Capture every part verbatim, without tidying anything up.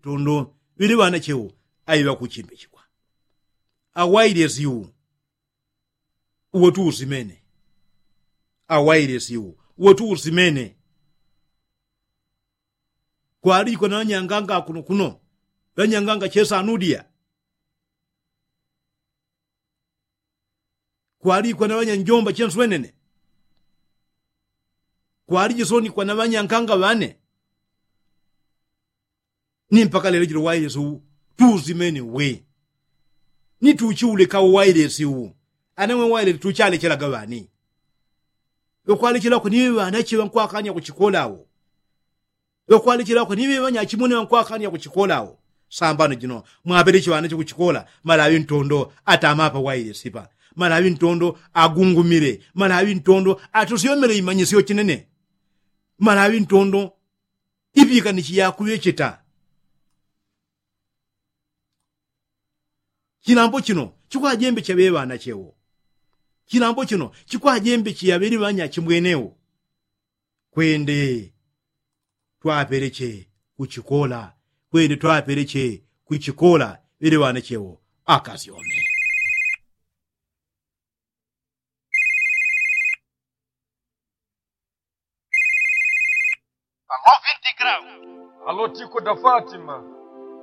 tondo ŵili ŵanachewo. Aiŵa kuchimbichikwa awailesi u uwo tuusimene. Awailesi u uwo tuusimene. Kwalijikwa na ŵanyanganga kuno kuno ŵanyanganga chesanudia. Kwalijikwa na ŵanyanjomba chenswenene. Kwalijisonikwa na ŵanyankanga ŵane. Ni mpaka lelo jilo wailesi u tuusimene we. Ni tuchiuleka uwailesi u. Ana mwe wailesi tuchalechelaga ŵani? Ŵekwalechela kweniŵe ŵanache ŵankwakanya kuchikola awo. Ŵekwalechela kweniŵe ŵanyachimwene ŵankwakanya kuchikola awo. Sambano jino mwaŵeleche ŵanache kuchikola. Malaŵi ntondo atama apa wailesi pa. Malaŵi ntondo agungumile. Malaŵi ntondo atusyomele imanyisyo chinene. Malaŵi ntondo iŵikanichi yakuŵecheta. Chilambo chino chikwajembeche ŵeŵanachewo. Chilambo chino chikwajembeche yaŵeli ŵanyachimwenewo. Kwende twapeleche kuchikola. Kwende twapeleche kuchikola ŵeli ŵanachewo. Akasyome. Alô, vinte graus. Alô, Tico da Fátima.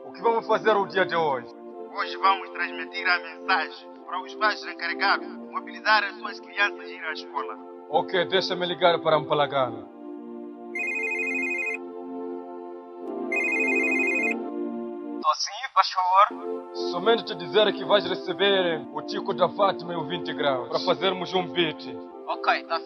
O que vamos fazer o dia de hoje? Hoje vamos transmitir a mensagem para os pais encarregados mobilizar as suas crianças e ir à escola. Ok, deixa-me ligar para Mpalagana. Tô sim, faz favor. Somente te dizer que vais receber o Tico da Fátima e o vinte graus para fazermos um beat. Ok, tá